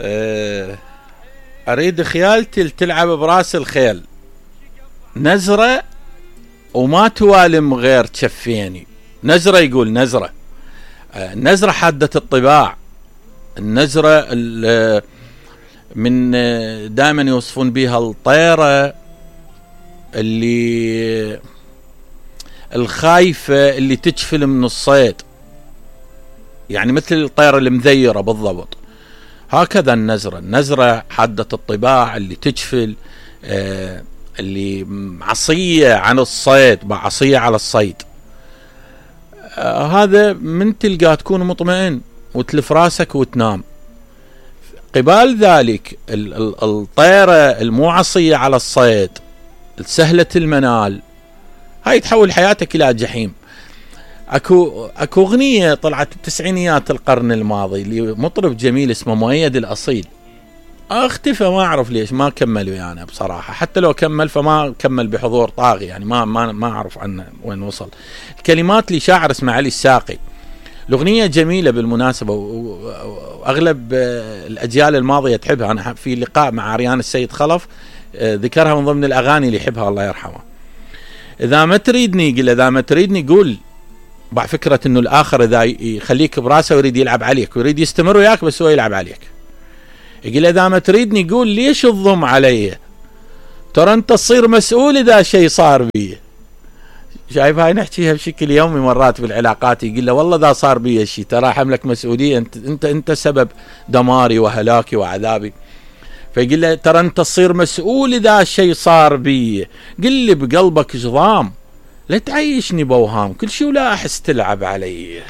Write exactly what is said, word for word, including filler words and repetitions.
أه اريد خيالتي تلعب براس الخيل نزرة وما توالم غير تشفيني. نزرة يقول نزرة أه نزرة حادة الطباع. النزرة من دائما يوصفون بها الطيرة اللي الخايفة اللي تجفل من الصيد، يعني مثل الطيرة المذيرة بالضبط. هكذا النزرة، النزرة حادة الطباع اللي تجفل، آه اللي عصية عن الصيد، عصية على الصيد. آه هذا من تلقاه تكون مطمئن وتلف راسك وتنام. قبال ذلك الطيرة المو عصية على الصيد سهلة المنال، هاي تحول حياتك إلى جحيم. اكو اكو اغنيه طلعت التسعينيات القرن الماضي لمطرب جميل اسمه مؤيد الاصيل، اختفى ما اعرف ليش ما كمل ويانا يعني بصراحه، حتى لو كمل فما كمل بحضور طاغي، يعني ما ما ما اعرف عنه وين وصل. الكلمات لشاعر اسمه علي الساقي. الاغنيه جميله بالمناسبه، واغلب الاجيال الماضيه تحبها. انا في لقاء مع عريان السيد خلف ذكرها من ضمن الاغاني اللي يحبها الله يرحمه. اذا ما تريدني قل، اذا ما تريدني قول. بعد فكرة انه الاخر اذا يخليك براسه ويريد يلعب عليك ويريد يستمر وياك بس هو يلعب عليك. يقول اذا ما تريدني قول ليش تضم علي، ترى انت تصير مسؤول اذا شيء صار بي. شايف هاي نحكيها بشكل يومي مرات بالعلاقات. يقول له والله اذا صار بي شيء ترى حملك مسؤولية، انت انت انت سبب دماري وهلاكي وعذابي. فيقول له ترى انت تصير مسؤول اذا شيء صار بي، قل لي بقلبك جضام لا تعيشني بوهام، كل شي ولا احس تلعب علي.